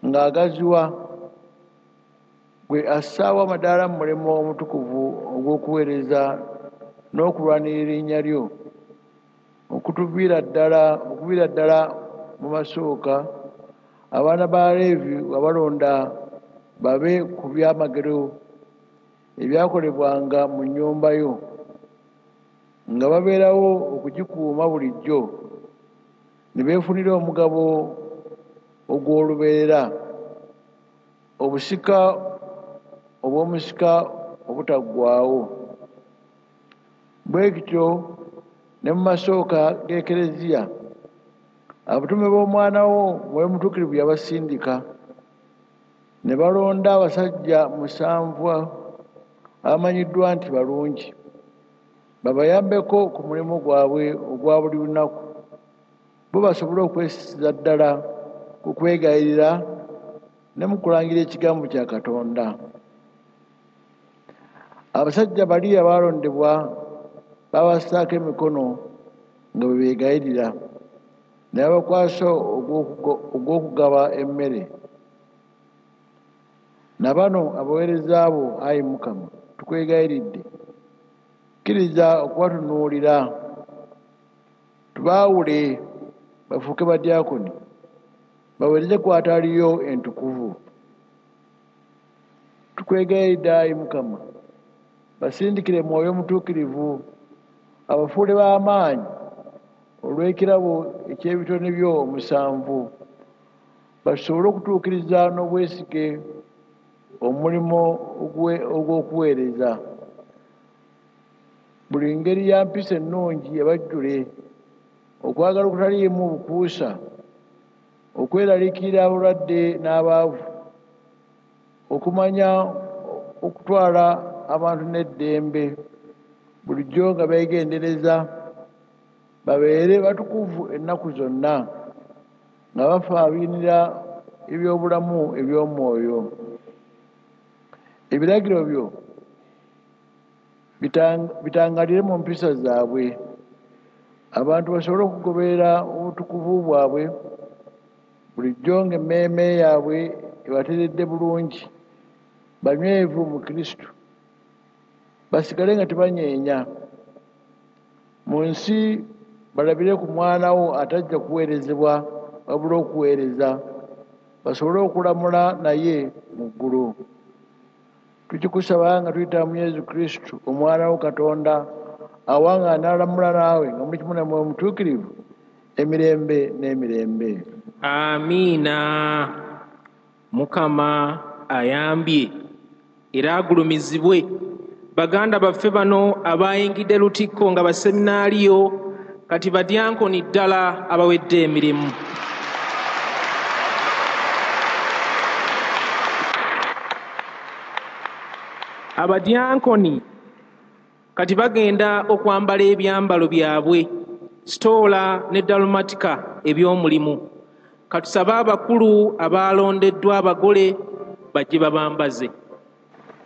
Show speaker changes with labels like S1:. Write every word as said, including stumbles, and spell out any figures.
S1: Ng'agaziwa, gwe assaawo amadaala mu mulimu omutukuvu ogw'okuweereza n'okulwanirira erinnya lyo, okutuviira ddala okuviira ddala mu masooka, abaana ba Leevi wabalonda babe ku byamagero ebyakolebwanga mu nnyumba yo, nga babeerawo okugikuuma bulijjo, ne beefunira omugabo ogw'olubeerera, obusika obw'omusika obutaggwaawo. Bwe kityo ne mu masooka g'Ekereziya, abatume b'Omwana wo Mwoyo Mutuukirivu yabasindika, ne balonda abasajja musanvu abamanyiddwa nti balungi, babayambeko ku mulimu gwabwe ogwa buli lunaku, bo basobole okwessiza ddala ku kwegayirira ne mu kulangirira ekigambo kya Katonda. Abasajja bali abaalondebwa babassaako emikono nga bwe beegayirira, ne babakwasa ogw'okugaba emmere. Na bano abaweereza bo, ayi Mukama, tukwegayiridde, kkiriza okubatunuulira, tubaawule bafuuke badyaakoni, baweereze ku alutaari yo entukuvu. Tukwegayiridde, ayi Mukama, basindikire Mwoyo Mutuukirivu, abafuule b'amaanyi olw'ekirabo eky'ebitone byo omusanvu, basobole okutuukiriza n'obwesige omulimu ogw'okuweereza. Buli ngeri ya mpisa ennungi ebajjule, okwagala okutaliimu bukuusa, okweraliikirira abalwadde n'abaavu, okumanya okutwala abantu n'eddembe, bulijjo nga beegendereza, babeere batukuvu ennaku zonna, nga bafaabiinira ebyobulamu eby'omwoyo. Ebiragiro byo bitangalire mu mpisa zaabwe, abantu basobole okugoberera obutukuvu bwabwe, bulijjo ng'emmeeme yaabwe ebateredde bulungi, banywevu mu Kristo, basigale nga tebanyeenya. Mu nsi balabire ku Mwana wo atajja kuweerezebwa wabula okuweereza, basobole okulamula naye mu ggulu. Tukikusaba nga tuyita mu Yesu Kristo, Omwana wo Katonda, awangaala n'alamula naawe nga muli kimu ne Mwoyo Mutuukirivu, emirembe n'emirembe.
S2: Amiina. Mukama ayambye era agulumizibwe. Baganda baffe bano abayingidde Lutikko nga baseminaaliyo, kati badyankoni ddala abawedde emirimu. Abadyankoni kati bagenda okwambala ebyambalo byabwe, sitoola ne dalumatika eby'omulimu. Katusabe abakulu abalondeddwa abagole bajje babambaze.